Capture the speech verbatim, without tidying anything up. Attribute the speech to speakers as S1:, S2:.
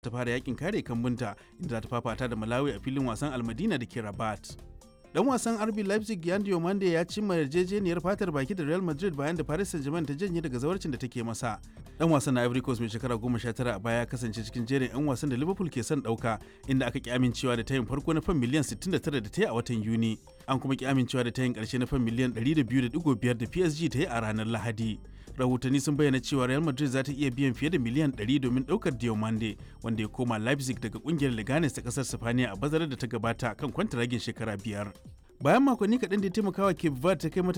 S1: Ta fara yakin kare kambunta, inda za ta fafata da Malawi a filin wasan Almadina da ke Rabat. Dan wasan R B Leipzig Yan Diomande ya cimma yarjejeniyar fatar baki da Real Madrid bayan da Paris Saint-Germain ta janye daga zawarcin da take masa. Dan wasan na Ivory Coast mai shekara goma sha tara a baya kasance cikin jerin 'yan wasan da Liverpool ke son dauka, inda aka ki amincewa da tayin farko na fan miliyan sittin da tara da ta yi a watan Yuni. An kuma ki amincewa da tayin karshe na fan miliyan ɗari da biyu da digo biyar da P S G ta yi a ranar Lahadi. Rahotanni sun bayyana cewa Real Madrid za ta iya biyan fiye da miliyan ɗari domin daukar Diomande, wanda ya koma Leipzig daga kungiyar Leganes ta kasar Sifaniya a bazarar da ta gabata kan kwantaragin shekara biyar. Bayan makonni kaɗan da ya taimakawa Cape Verde ta kai mata